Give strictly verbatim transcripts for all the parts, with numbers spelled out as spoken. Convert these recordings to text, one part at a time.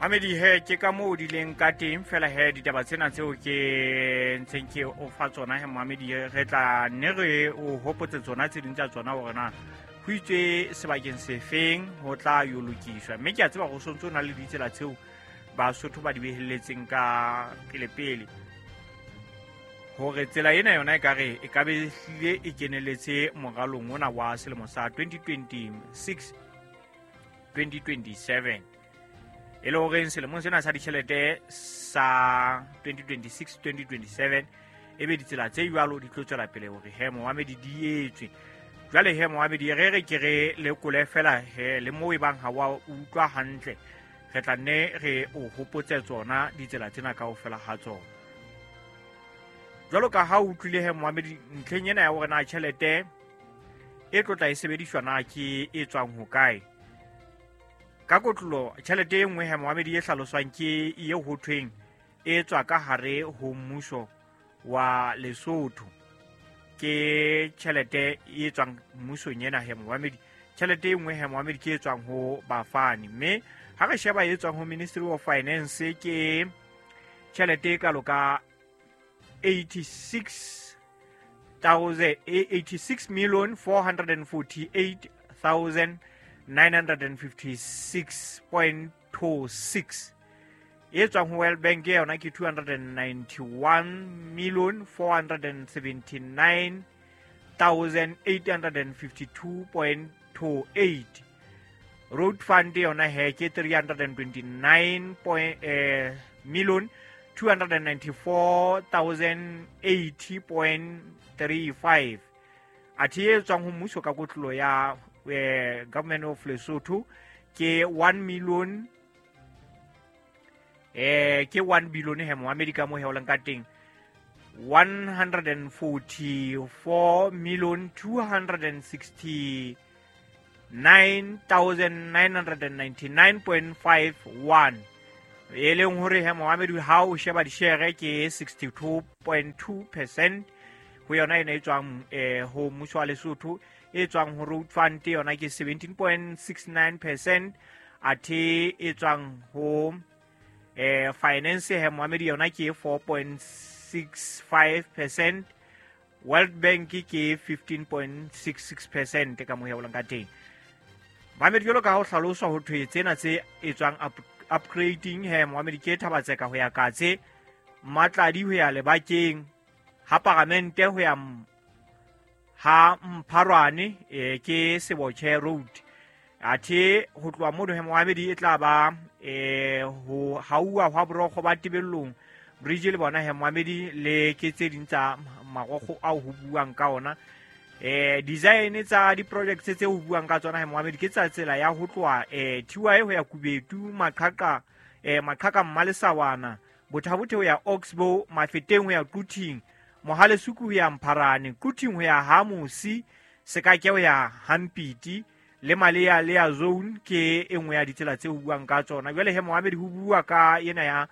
Mamedi he ke ka moo di leng ka teng fela he ditaba tsena tseo ke ntseng ke o fa tsona he Mamedi re tla nne re o hopotse tsona tse ding tsa tsona hore na ho itswe sebakeng sefeng ho tla yo lokiswa. Mme ke a tseba go sontso na le ditsela tseo Basotho ba di behelletseng ka pele-pele hore tsela ena yona e ka re e ka be hlile e keneletse moralong ona wa selemo sa twenty twenty-six twenty twenty-seven. E le horeng selemong sena sa ditjhelete sa twenty twenty-six twenty twenty-seven e be ditsela tse jwalo di tlo tswela pele hore he Mohamedi di etswe. Jwale he Mohamedi re re ke re lekole fela he le moo e bang ha wa utlwa hantle re tla nne re o hopotse tsona ditsela tsena kaofela ha tsona. Jwalo ka ha o utlwile he Mohamedi ntlheng ena ya hore na tjhelete e tlo tla e sebediswa na ke e tswang hokae. Ka kotlolo tjhelete e nngwe he Mohamedi e hlaloswang ke eo ho thweng e tswa ka hare ho mmuso wa Lesotho. Ke tjhelete e tswang mmusong ena he Mohamedi. Tjhelete e nngwe he Mohamedi ke e tswang ho bafani. Mme ha re sheba e tswang ho Ministry of Finance ke tjhelete e kalo ka eighty-six thousand eighty-six million four hundred forty-eight thousand nine hundred fifty-six point two six. E tswang ho World Bank yona ke two hundred ninety-one million four hundred seventy-nine thousand eight hundred fifty-two point two eight. Road Fund yona he ke three hundred twenty-nine point eh, million two hundred ninety-four thousand eighty point three five. Athe e tswang ho mmuso ka kotlolo ya eh, Government of Lesotho ke one million eh ke one billion he Mohamedi ka mo he o leng ka teng one hundred forty-four million two hundred sixty-nine thousand nine hundred ninety-nine point five one. E leng hore he Mohamedi ha o sheba dishere ke sixty-two point two percent ho yona ena e tswang eh ho mmuso wa Lesotho. E tswang ho Road Fund yona ke seventeen point six nine percent. Athe e tswang ho eh finance he Mohamedi yona ke four point six five percent. World Bank ke fifteen point six six percent ka mo ya ka teng. Mohamedi jwalo ka ha ho hlaloswa ho thwe tsena tse e tswang up, upgrading he Mohamedi ke Thabatseka ho ya Katse, Matladi ho ya Lebakeng, ha Paramente ho ya ha Mpharwane e ke Sebotjhe Road. Athe ho tloha mono he Mohamedi e tla ba eh ho hauwa hwa borokgo ba Tebellong bridge le bona he Mohamedi le ke tse ding tsa marokgo ao ho buang ka ona. Eh design tsa di-projects tse ho buang ka tsona he Mohamedi ke tsa tsela ya ho tloha eh T Y ho ya Kubetu, Maqhaqa eh Maqhaqa Mmalesawana, Bothabothe ho ya Oxbow, Mafeteng ho ya Quthing, Mohalesuku ho ya Mpharane, Quthing ho ya Hamusi, Sekake ho ya Hampiti le Malea Lea Zone ke e nngwe ya ditsela tse ho buang ka tsona. Jwale he Mohamedi ho bua ka ena ya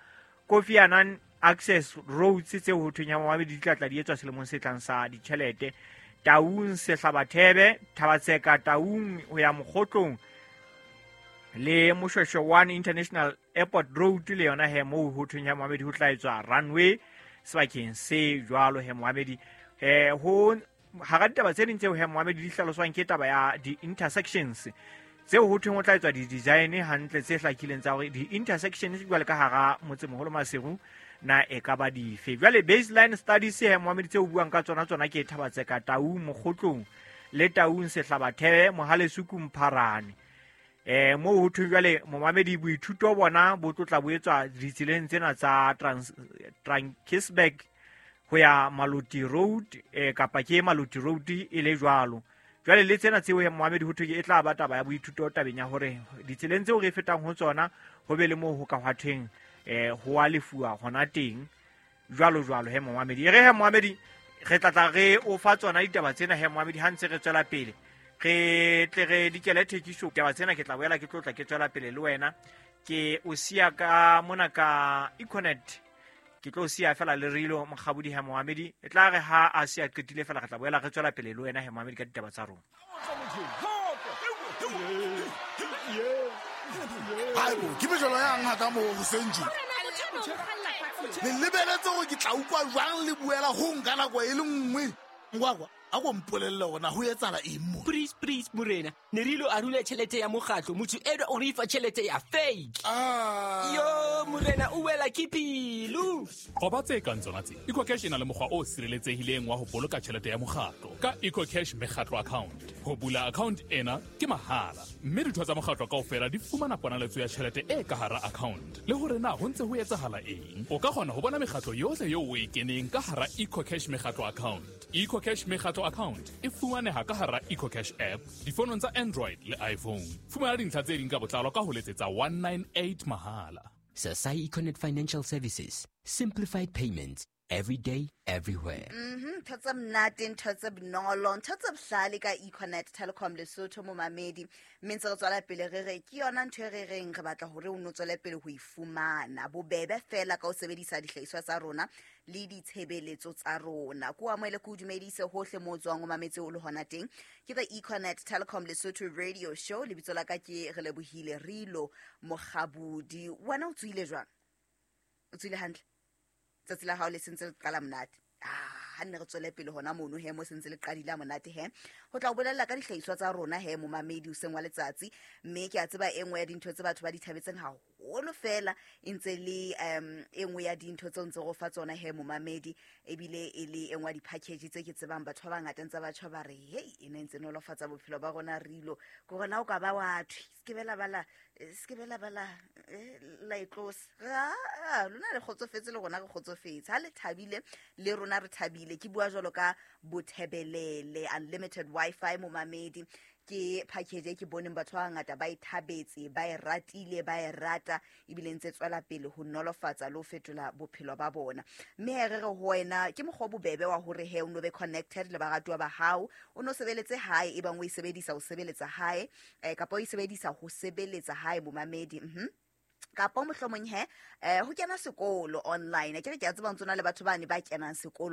Kofi Annan Access Roads tse ho thweng ya Mohamedi di tla tla di etswa selemong se tlang sa ditjhelete. Taung Sehlabathebe, Thabatseka Taung ho ya Mokgotlong le Moshweshwe one International Airport Road le yona he moo ho thweng ya Mohamedi ho tla etswa runway sebakeng se jwalo he Mohamedi. Eh ho hara ditaba tse ding tseo he Mohamedi di hlaloswang ke taba ya di-intersections tseo ho thweng ho tla etswa di-design hantle tse hlakileng tsa hore di-intersections jwale ka hara motsemoholo Maseru na e ka ba dife. Jwale baseline studies he Mohamedi tseo buang ka tsona tsona ke Thabatseka Taung Mokgotlong le Taung Sehlabathebe, Mohalesuku Mpharane. Eh moo ho thweng jwale Mohamedi boithuto bona bo tlotla bo etswa ditseleng tsena tsa Trankisberg ho ya Maluti Road eh kapa ke Maluti Road e le jwalo. Jwale le tsena tseo he Mohamedi ho thwe e tla ba taba ya boithuto tabeng ya hore ditseleng tseo re fetang ho tsona ho be le moo ho ka hwa thweng eh ho a lefuwa hona teng jwalo jwalo he Mohamedi. E re he Mohamedi re tla tla re o fa tsona ditaba tsena he Mohamedi ha ntse re tswela pele re tle re dikele thekiso taba tsena ke tla boela ke tlotla ke tswela pele le wena. Ke o siya ka mona ka Econet ke tlo siya fela le rilo Mokgabudi he Mohamedi e tla re ha a siya qetile fela re tla boela re tswela pele le wena he Mohamedi ka ditaba tsa rona. Haibo, ke mejolo yang haka moo hoseng tje? Le lebeletse hore ke tla utlwa jwang le buela ho nka nako e le nngwe? Ngwakwa, a ko mpolelle hore na ho etsahala eng mo? Please, please, morena. Ne re ilo arula tjhelete ya mokgatlo. Motho enwa o re fa tjhelete ya fake. Ah. Yo, morena, o wela ke pelo. Qoba tse kang tsona tse. EcoCash e na le mokgwa o sireletsehileng wa ho boloka tjhelete ya mokgatlo ka EcoCash mekgatlo account. Ho bula account ena ke mahala, mme ditho tsa mokgatlo kaofela di fumana ponaletso ya tjhelete e ka hara account. Le hore na ho ntse ho etsahala eng. O ka kgona ho bona mekgatlo yohle eo o e keneng ka hara EcoCash mekgatlo account. EcoCash mekgatlo account e fumaneha ka hara EcoCash app difonong tsa Android le iPhone. Fumana dintlha tse ding ka botlalo ka ho letsetsa one nine eight mahala. Sasai Econet Financial Services. Simplified payments. Every day, everywhere. Mhm, ntho tse monate, ntho tse bonolo, ntho tse bohlale ka Econet Telecom Lesotho momamedi. Mme ntse re tswela pele re re ke yona ntho e re reng re batla hore o no tswele pele ho e fumana. Bobebe fela ka ho sebedisa dihlahiswa tsa rona le ditshebeletso tsa rona. Ko amohele ko dumedise hohle moo o tswang o mametse o le hona teng. Ke the Econet Telecom Lesotho Radio Show. Lebitso la ka ke Relebohile Rilo Mokgabudi. Wena o tsohile jwang? O tsohile hantle? Tsatsi la hao le sentse le qala monate. Ah, ha nne re tswele pele hona mono he, mo sentse le qadile ha monate he. Ho tla o bolella ka dihlahiswa tsa rona he, momamedi hoseng wa letsatsi. Mme ke a tseba e nngwe ya dintho tse batho ba di thabetseng haholo fela, e ntse le, um, e nngwe ya dintho tseo ntse re fa tsona he, momamedi, ebile e le e nngwe ya di-package tse ke tsebang batho ba bangata ntse ba tjho ba re, hei, e ne ntse nolofatsa bophelo ba rona Rilo. Ke hore na o ka ba wa thwe, se ke be la ba la, se ke be la ba la, eh, la e tlosa. Ah, lona le kgotsofetse le rona re kgotsofetse. Ha le thabile, le rona re thabile. Ke bua jwalo ka Bothebelele unlimited Wi-Fi momamedi. Ke package e ke boneng batho ba bangata ba e thabetse, ba e ratile, ba e rata, ebile ntse tswela pele ho nolofatsa le ho fetola bophelo ba bona. Mme he re re ho wena ke mokgwa o bobebe wa hore he o no be connected le baratuwa ba hao, o no sebeletse hae, ebang o e sebedisa ho sebeletsa hae, eh, kapa o e sebedisa ho sebeletsa hae momamedi. Mhm. Kapa mohlomong he, eh, ho kena sekolo online. Ke re ke a tseba ntse o na le batho bane ba kenang sekolo